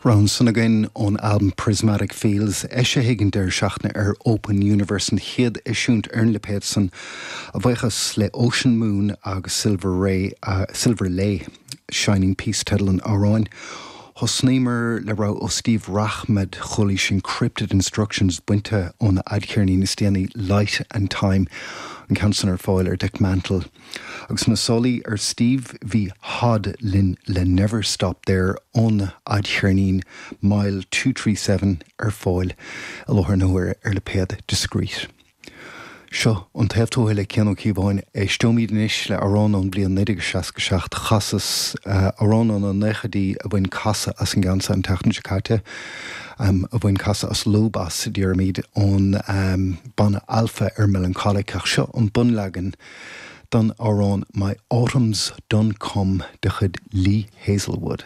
Rogha ansan againn ón albam Prismatic Fields, eisithe ag an deireadh seachtaine ar Open Universe, an chéad eisiúint ar an lipéad san, a bhuíochas le Ocean Moon agus Silver Ray, Silver Lay. Shining Peace teideal an amhráin. Thosnaíomar le rogha ó Steve Rachmad, chualaís Encrypted Instructions bainte óna fhadcheirnín is déanaí Light and Time, an ceann san ar fáil ar Dekmantel. Agus na sálaí ar Steve bhí Hod linn le Never Stop There óna fhadcheirnín Mile 237 ar fáil i láthair na huaire ar lipéad Discreet. Seo An Taobh Tuaithe le Cian Ó Cíobháin. Éisteoimid anois le amhrán ón bhliain 1967. Chasas amhrán ó na naochaidí a bhain casadh as an gceann seo an tseachtain seo caite, a bhain casadh as lúb as, déarfaimid, ón banna Alpha ar Melancholic. Ach seo an bunleagan don amhrán My Autumn's Done Come de chuid Lee Hazlewood.